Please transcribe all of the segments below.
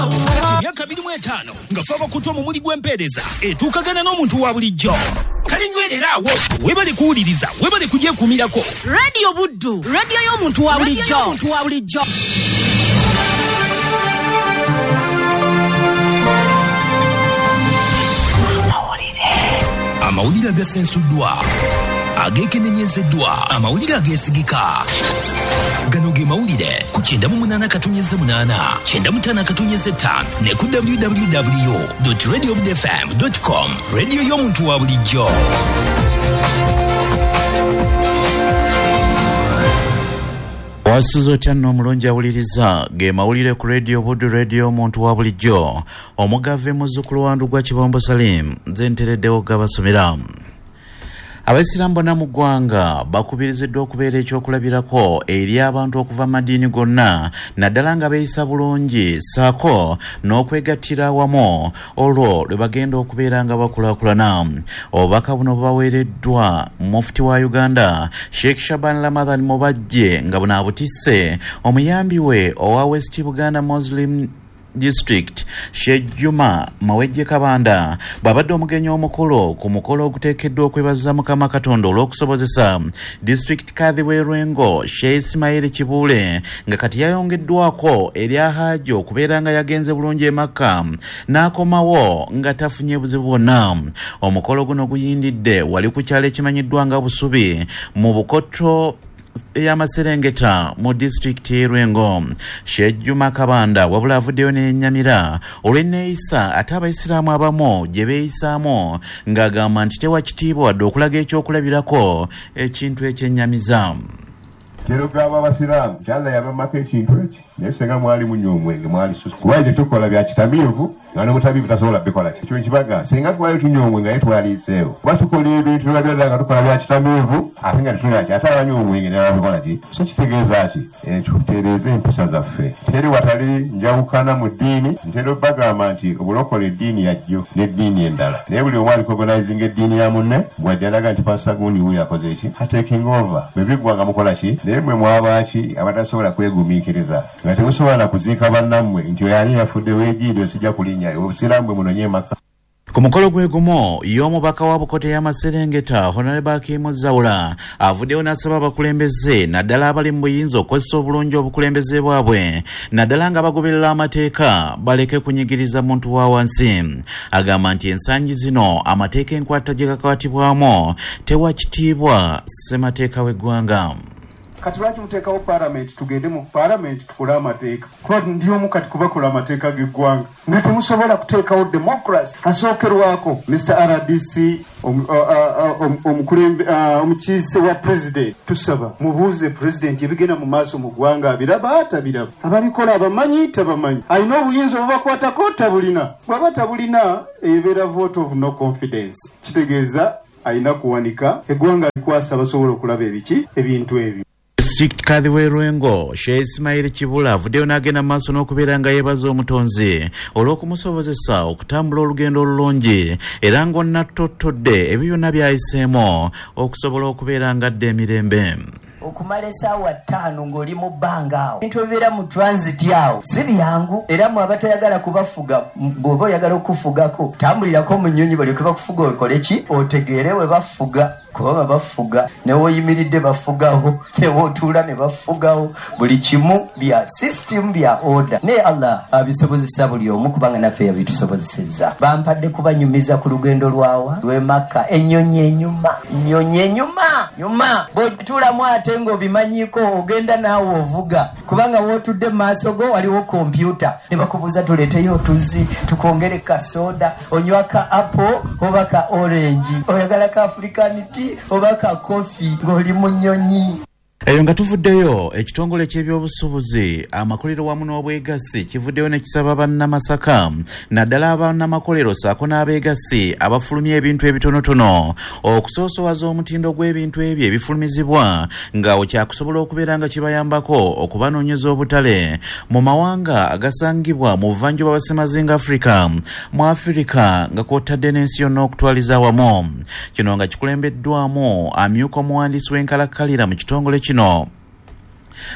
Kati emyaka 25 nga fe abakutu omumuli gw'empeereza etuukagana n'omuntu wa bulijjo. Kale nywerera awo, weebale kuwuliriza, weebale kugyekuumirako. Radio Buddu, radio y'omuntu wa bulijjo. Omuntu wa bulijjo. Amawulire agasensuddwa, ageekenenyezeddwa, amawulire ageesigika. Gano ge mawulire ku 98.8, 95.5 ne ku www.radiobudfm.com. Radio y'omuntu wa bulijjo. Wasuze otya nno omulungi awuliriza ge mawulire ku Radio Buddu, radio y'omuntu wa bulijjo. Omugave muzzukulu wa Ndugwa Kibombo Salim, nze ntereddewo gabasomera. Abayisiraamu bonna mu ggwanga bakubiriziddwa okubeera ekyokulabirako eri abantu okuva mu madiini gonna, naddala nga beeyisa bulungi ssaako n'okwegattira awamu olwo lwe bagenda okubeera nga bakulaakulana. Obubaka buno bubaweereddwa Mufti wa Uganda Sheikh Shaban Ramadhan Mubajje nga buno abutisse omuyambi we owa West Buganda Muslim District Sheikh Juma Mawejje Kabanda bw'abadde omugenyi omukulu ku mukolo oguteekeddwa okwebaza Mukama Katonda olw'okusobozesa District Kadhi w'e Lwengo Sheikh Ismail Kibuule nga kati yayongeddwako erya Haji okubeera nga yagenze bulungi e Makka n'akomawo nga tafunye buzibu bwonna. Omukolo guno guyindidde wali ku kyalo ekimanyiddwa nga Busubi mu Bukoto ey'amaserengeta mu disitulikiti y'e Lwengo. Sheikh Juma Kabanda wabula avuddeyo n'ennyamira olw'enneeyisa ate abayisiraamu abamu gye beeyisaamu ng'agamba nti tewa kitiibwa wadde okulaga ekyokulabirako ekintu ekyennyamiza. Kyerugamba abasiraamu nti Allah yabamako ekintu eki, naye singa mwali munywa omwenge mwali susu, kuba tetukola bya kitamiivu nga n'omutamiivu tasobola bikola. Ekyo nkibaga, singa twali tunywa omwenge naye twaliiseewo, kuba tukola ebintu byonna nga tukola bya kitamiivu ate nga tetunywa ki, ate abanywa omwenge naye babikola ki. So kitegeeza ki? Tutereeze empisa zaffe. Teri watali njawukana mu ddiini. Ntera obbagamba nti obulokole eddiini yajjo n'eddiini endala, naye buli omu arecognizinga eddiini ya munne. Bw'ajja n'agamba nti pasita gundi wuuyo akoze ki, ataking over, bwe biggwa nga mukola ki? Naye mmwe mwabaaki abatasobola kwegumiikiriza nga temusobola na kuziika bannammwe nti oyo ani yafudde weegiido sijja kulinnya obusiraamu bwe munonye Makka. Ku mukolo gwe gumu y'omubaka wa Bukoto ey'amaserengeta Honorable Hakimu Zawula avuddeyo n'asaba abakulembeze naddala abali mu buyinza okukozesa obulungi obukulembeze bwabwe naddala nga bagoberera amateeka baleke kunyigiriza muntu wa wansi. Agamba nti ensangi zino amateeka enkwata gye gakwatibwamu tewa kitiibwa ssemateeka w'eggwanga. Kati lwaki muteekawo palamenti? Tugende mu palamenti tukole amateeka, kuba ndi omu kati kubakola amateeka g'eggwanga nga temusobola kuteekawo democracy asookerwako. Mr RDC, omukiise wa president, tusaba mubuuze president ebigenda mu maaso mu ggwanga abiraba atabiraba, ababikola abamanyi tabamanyi, alina obuyinza obubakwatako tabulina. Bw'aba tabulina ebeera vote of no confidence, kitegeeza alina kuwanika eggwanga likwasa abasobola okulaba ebiki ebintu ebyo. District Kadhi w'e Lwengo Sheikh Ismail Kibula avuddeyo n'agenda mu maaso n'okubeera nga yeebaza omutonzi olw'okumusobozesa okutambula olugendo olulungi era ng'onnattotodde ebyo byonna by'ayiseemu okusobola okubeera ng'adda emirembe. Okumala esaawa 5 ng'oli mu bbanga awo, ebintu ebibeera mu transit awo si byangu, era mwe abatayagala kubafuga, bw'oba oyagala okufugako tambulirako mu nnyonyi balyoke bakufuga okole ki, otegeere we bafuga, kuba bafuga ne w'oyimiridde bafugawo, ne w'otuula ne bafugawo, buli kimu bya system bya order. Naye Allah abisobozesa buli omu kubanga naffe yabitusobozesezza. Bampadde kubanyumiza ku lugendo lwawa lw'e Makka, ennyonyi enyuma, nnyonyi enyuma nyuma, bw'otuulamu ate ng'obimanyiiko ogenda naawe ovuga, kubanga w'otudde mu maaso go waliwo kompyuta ne bakubuuza tuleeteyo otuzzi tukwongere ka soda, onywa ka apple oba ka orange, oyagala ka African tea oba ka coffee ng'oli mu nnyonyi. Eyo nga tuvuddeyo, ekitongole ky'ebyobusuubuzi, amakolero wamu n'obwegassi kivuddeyo ne kisaba bannamasaka naddala abannamakolero ssaako n'abeegassi abafulumya ebintu ebitonotono okusoosowaza omutindo gw'ebintu ebyo ebifulumizibwa ng'awo kyakusobola okubeera nga kibayambako okubanoonyeza obutale mu mawanga agasangibwa mu buvanjuba bwa Ssemazinga Africa, mu Afirika nga kw'otadde n'ensi yonna okutwaliza awamu. Kino nga kikulembeddwamu amyuka omuwandiisi w'enkalakkalira mu kitongole kino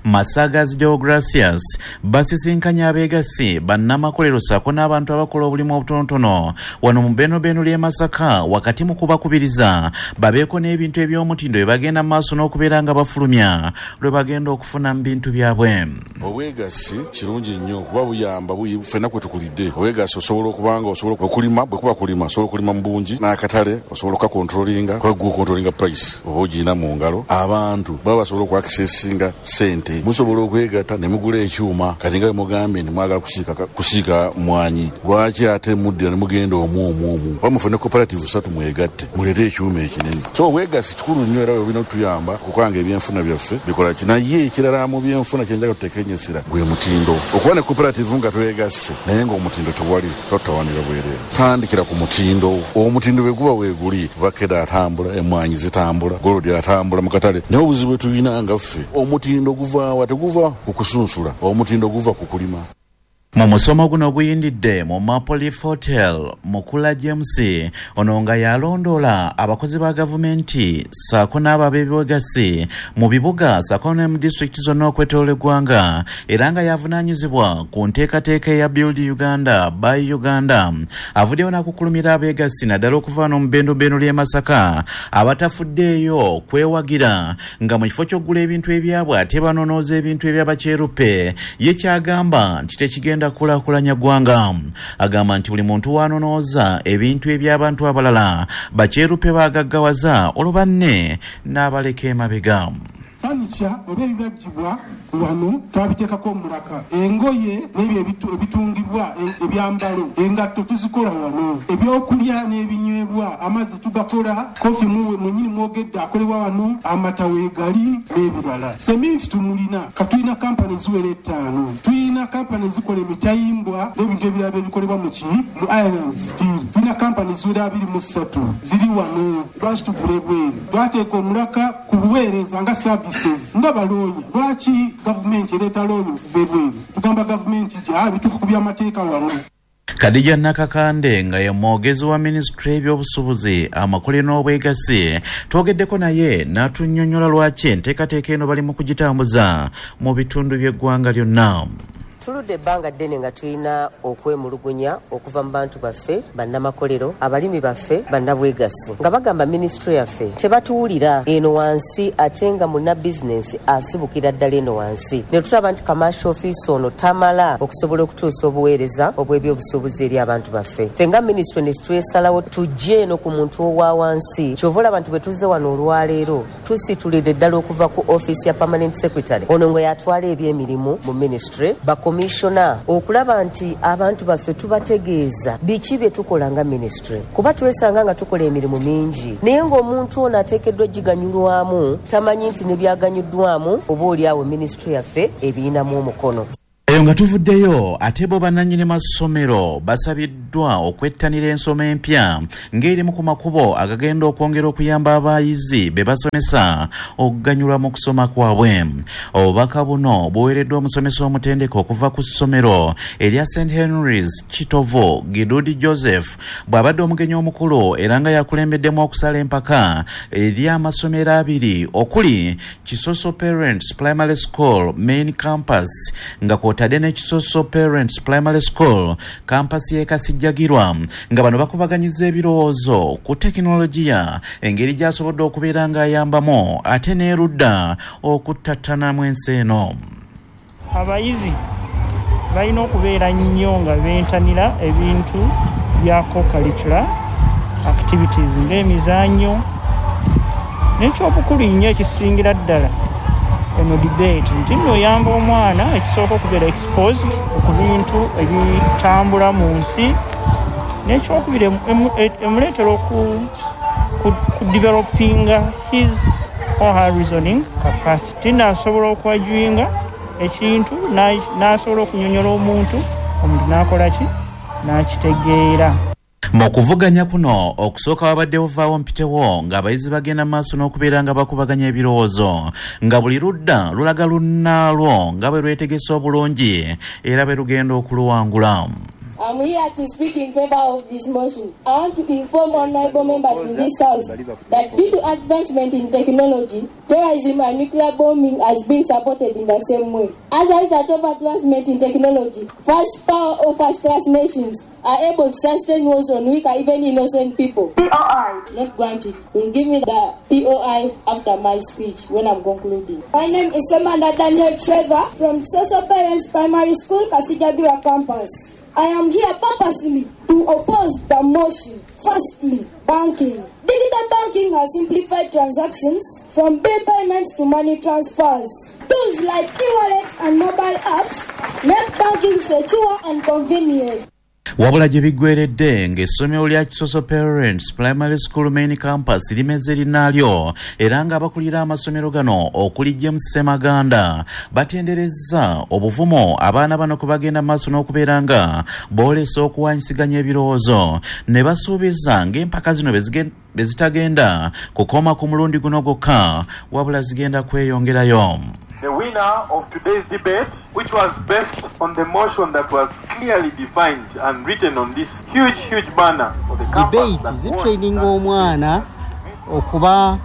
Masagazi Deogracias basisinkanye abeegassi bannamakolero ssaako n'abantu abakola obulimu obutonotono wano mu Benobeno ly'e Masaka, wakati mu kubakubiriza babeeko n'ebintu eby'omutindo bye bagenda mu maaso n'okubeera nga bafulumya lwe bagenda okufuna mu bintu byabwe. Obwegassi kirungi nnyo kuba buyamba ffenna kwe tukulidde. Obwegassi osobola okubanga osobola okulima, bwe kuba kulima osobola okulima mu bungi, n'akatale osobola okukakontrolinga, kuba gwe okontrolinga price oba ogirina mu ngalo. Abantu baba basobola okwakisesinga ssente, musobola okwegatta ne mugula ekyuma. Kati nga bwe mugambye nti mwagala kusiika mwanyi, lwaki ate muddira ne mugenda omu omu omu? Oba mufune cooperative 3 mwegatte muleete ekyuma ekinene. So obwegassi kikulu nnyo era bwe bulina okutuyamba okukanga ebyenfuna byaffe bikola ki. Naye ekirala mu byenfuna kye njagala tuteeke gwe mutindo. Okuba ne cooperative nga twegasse naye ng'omutindo tewali, totawanira bwereere. Tandikira ku mutindo. Omutindo bwe guba weeguli, vakeda atambula, emmwanyi zitambula, golodi atambula mu katale. Naye obuzibu bwe tulina nga ffe, omutindo guvaawa? Teguva ku kusunsula, omutindo guva ku kulima. Mu musomo guno oguyindidde mu Maple Leaf Hotel, Mukula James ono nga yalondoola abakozi ba gavumenti ssaako n'abo ab'ebwegassi mu bibuga ssaako ne mu disitulikiti zonna okwetooloola eggwanga, era nga yavunaanyizibwa ku nteekateeka eya Build Uganda by Uganda, avuddeyo n'akukulumira abeegassi naddala okuva wano mu Benobeno ly'e Masaka abatafuddeeyo kwewagira nga mu kifo ky'okugula ebintu ebyabwe ate banonooza ebintu eby'abakyeruppe. Ye kyagamba nti tekigenda kulaakulanya ggwanga. Agamba nti buli muntu wanonooza ebintu eby'abantu abalala bakyeruppe bagaggawaza olwo banne n'abaleka emabega. Fanica oba ebibajjibwa wano twabiteekako omulaka, engoye n'ebyo ebitungibwa, ebyambalo, engatto tuzikola wano, ebyokulya n'ebinywebwa, amazzi tugakola, kofi mwennyini mwogedde akolebwa wano, amata weegali n'ebirala. Seminti tumulina, katulina kampani ziwera 5, tulina kampani zikola emitayimbwa n'ebintu ebirala ebikolebwa mu iron and steel, tulina kampani ziwera 23 ziri wano. Lwaki tugula ebweru? Twateeka omulaka ku buweereza nga services nga balooya. Lwaki gavumenti ereeta looya okuva ebweru? Tugamba gavumenti gya bituufu ku by'amateeka wano. Khadija Nakakande nga ye mwogezi wa minisitule y'ebyobusuubuzi, amakolero n'obwegassi, twogeddeko naye n'atunnyonnyola lwaki enteekateeka eno bali mu kugitambuza mu bitundu by'eggwanga lyonna. Tuludde ebbanga ddene nga tulina okwemulugunya okuva mu bantu baffe, bannamakolero, abalimi baffe, bannabwegassi, nga bagamba minisitule yaffe tebatuwulira eno wansi, ate nga munnabizinensi asibukira ddala eno wansi. Ne tulaba nti commercial office ono tamala okusobola okutuusa obuweereza obw'ebyobusuubuzi eri abantu baffe. Ffe nga minisitule ne twesalawo tujje eno ku muntu owa wansi. Kyova olaba nti bwe tuzze wano olwaleero tusitulidde ddala okuva ku ofiisi ya permanent secretary ono nga yatwala ebyemirimu mu minisitule, bakomishona, okulaba nti abantu baffe tubategeeza biki bye tukola nga minisitule, kuba twesanga nga tukola emirimu mingi naye ng'omuntu ono ateekeddwa giganyulwamu tamanyi nti ne byaganyuddwamu oba oli awo minisitule yaffe ebiyinamu omukono. Eyo nga tuvuddeyo, ate bo bannannyini masomero basabiddwa okwettanira ensoma empya ng'erimu ku makubo agagenda okwongera okuyamba abayizi be basomesa okuganyulwa mu kusoma kwabwe. Obubaka buno buweereddwa omusomesa omutendeke okuva ku ssomero erya St Henry's Kitovu, Gidudi Joseph, bw'abadde omugenyi omukulu era nga yakulembeddemu okusala empaka eri amasomero 2 okuli Kisoso Parents Primary School Main Campus nga kwotadde ne Kisoso Parents Primary School campus y'e Kasijjagirwa, nga bano bakubaganyiza ebirowoozo ku tekinologiya engeri gy'asobodde okubeera ng'ayambamu ate n'erudda okuttattanamu ensi eno. Abayizi balina okubeera nnyo nga bentanira ebintu bya co-curricular activities ng'emizannyo, n'ekyobukulu nnyo ekisingira ddala eno debate nti nno oyamba omwana ekisooka okubeera exposed ku bintu ebitambula mu nsi, n'ekyokubiri emuleetera okudevelopinga his or her reasoning capacity. Naasobola okwajuinga ekintu, n'asobola okunyonyola omuntu, omuntu n'akola ki, n'akitegeera. Mu kuvuganya kuno okusooka wabaddewo vaawo mpitewo ng'abayizi bagenda maaso n'okubeera nga bakubaganya ebirowoozo, nga buli ludda lulaga lunnaalwo nga bwe lwetegese obulungi era bwe lugenda okuluwangula. I'm here to speak in favor of this motion. I want to inform honorable members in this house that due to advancement in technology, terrorism and nuclear bombing has been supported in the same way. As a result of advancement in technology, first power or first class nations are able to sustain wars on weaker, even innocent people. POI. Not granted. You'll give me the POI after my speech when I'm concluding. My name is Amanda Daniel Trevor from Social Parents Primary School, Kasijagira Campus. I am here purposely to oppose the motion. Firstly, banking. Digital banking has simplified transactions from bill payments to money transfers. Tools like e-wallets and mobile apps make banking secure and convenient. Wabula gye biggweredde ng'essomero lya Kisoso Parents Primary School Main Campus limeze linnaalyo, era ng'abakulira amasomero gano okuli James Ssemaganda batenderezza obuvumu abaana bano kwe bagenda maaso n'okubeera nga boolesa okuwanyisiganya ebirowoozo, ne basuubiza ng'empaka zino bwe zitagenda kukoma ku mulundi guno gwokka, wabula zigenda kweyongerayo. The winner of today's debate, which was based on the motion that was clearly defined and written on this huge, huge banner for the campus. Debate zitraining omwana okuba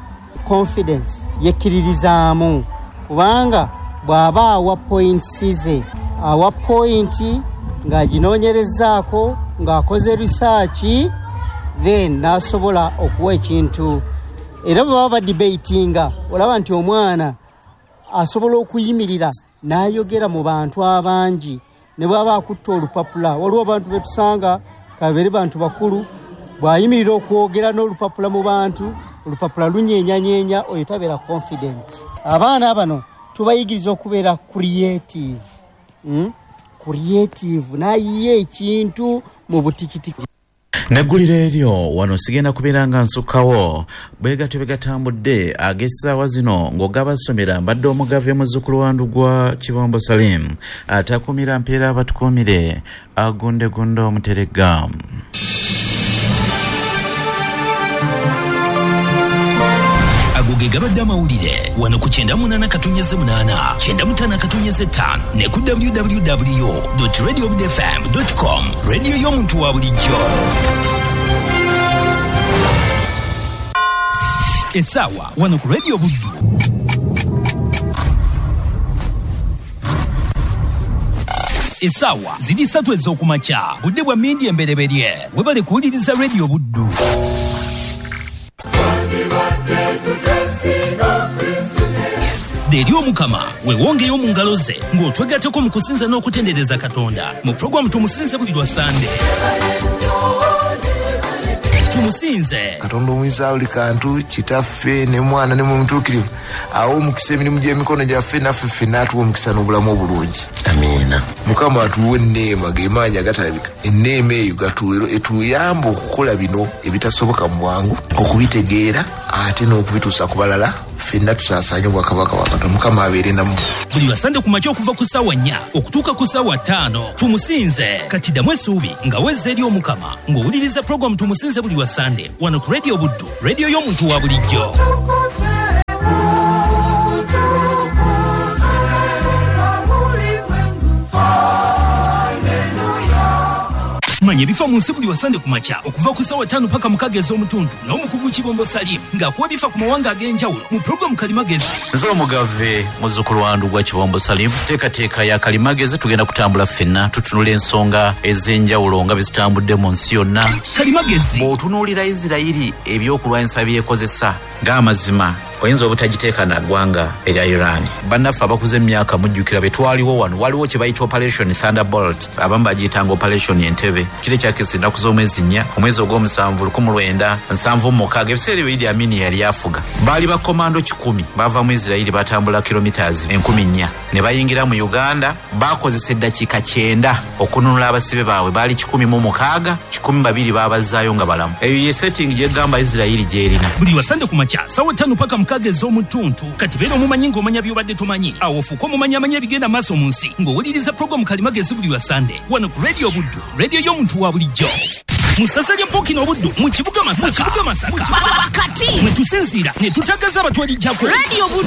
confidence yekkiririzaamu, kubanga bw'aba awa points ze, awa point ng'aginoonyerezaako, ng'akoze research, then n'asobola okuwa ekintu. Era bwe baba badebatinga, olaba nti omwana asobola okuyimirira n'ayogera mu bantu abangi, ne bw'aba akutta olupapula. Waliwo abantu be tusanga kabeere bantu bakulu, bw'ayimirira okwogera n'olupapula mu bantu, olupapula lunyeenyanyeenya, oyo tabeera confident. Abaana bano tubayigiriza okubeera creative, creative, n'ayiye ekintu mu butikitiki. Negguliro eryo wano sigenda kubeera nga nsukkawo bwe gatyo bwe gatambudde ag'essaawa zino ng'ogabasomera. Mbadde omugave muzzukulu wa Ndugwa Kibombo Salim, atakumira mpeera abatukuumire, agundegunde omuteregga. Ago ge gabadde amawulire wano ku 98.8, 95.5 ne ku www.radiobudfm.com. Radio y'omuntu wa bulijjo. Essaawa wano ku Radio Buddu. Essaawa ziri 3 ez'okumakya, budde bwa mmindi embereberye. Webale kuwuliriza Radio Buddu. Eri Omukama weewongeyo mu ngalo ze ng'otwegatteko mu kusinza n'okutendereza Katonda mu puroguramu Tumusinze buli lwa Sande. Tumusinze Katonda omuyinza buli kantu, Kitaffe ne Mwana ne Mwoyo awo omukisa emirimu gy'emikono gyaffe, naffe ffenna atuwa omukisa n'obulamu obulungi. Amiina. Mukama atuwe enneema gemaanyi agatalabika, enneema eyo etuyamba okukola bino ebitasoboka mu bwangu, okubitegeera ate n'okubituusa ku balala, ffenna tusaasaanye obwakabaka bwa Katonda. Mukama abeere nammwe. Buli lwa Sande ku makya okuva ku ssaawa 4 okutuuka ku ssaawa 5. Tumusinze katiddamu essuubi nga wezza eri Omukama ng'owuliriza puroguramu Tumusinze buli lwa Sande wano ku Radio Buddu, radio y'omuntu wa bulijjo. Manya ebifa mu nsi buli wa Sande ku makya okuva ku ssaawa 5 paka 6 ez'omutundu n'omukugu Kibombo Salim ng'akuwa ebifa ku mawanga ag'enjawulo mu puroguramu Kalimagezi. Nze omugave muzzukulu wa Ndugwa Kibombo Salim, teekateeka ya Kalimagezi tugenda kutambula ffenna tutunula ensonga ez'enjawulo nga bwe zitambudde mu nsi yonna. Kalimagezi. Bw'otunuulira Isirayiri ebyokulwanyisa byekozesa ng'amazima oyinza obutagiteeka na ggwanga erya Iran. Bannaffe abakuze emyaka mujjukira be twaliwo wano, waliwo kye bayita Operation Thunderbolt, abamu bagiyitanga Operation Entebbe. Kiro ekyakisa ennaku z'omwezi 4, omwezi ogw'omusanvu 1976, ebiseera ebyo Idi Amin yali afuga. Baali bakomando 100 bava mu Isirayiri batambula kilometers 4,000 ne bayingira mu Uganda. Bakozesa eddakiika 9 okununula abasibe baabwe, baali 106, 12 baabazaayo nga balamu. Eyo ye setting gyegamba Isirayiri gy'erina. Buli lwa Sande ku makya ssaawa 5 paka 6 ez'omutuntu. Kati beera omumanyi ng'omanya by'obadde tomanyi, awo ofuuke omumanyi amanya ebigenda maaso mu nsi ng'owuliriza puroguramu Kalimagezi buli lwa Sande wano ku Radio Buddu, radio y'omuntu wa bulijjo. Mu ssaza lya Ppookino Obuddu mu kibuga Masaka. Mwe tusinziira ne tutagaza abatwalijjako. Radio Buddu.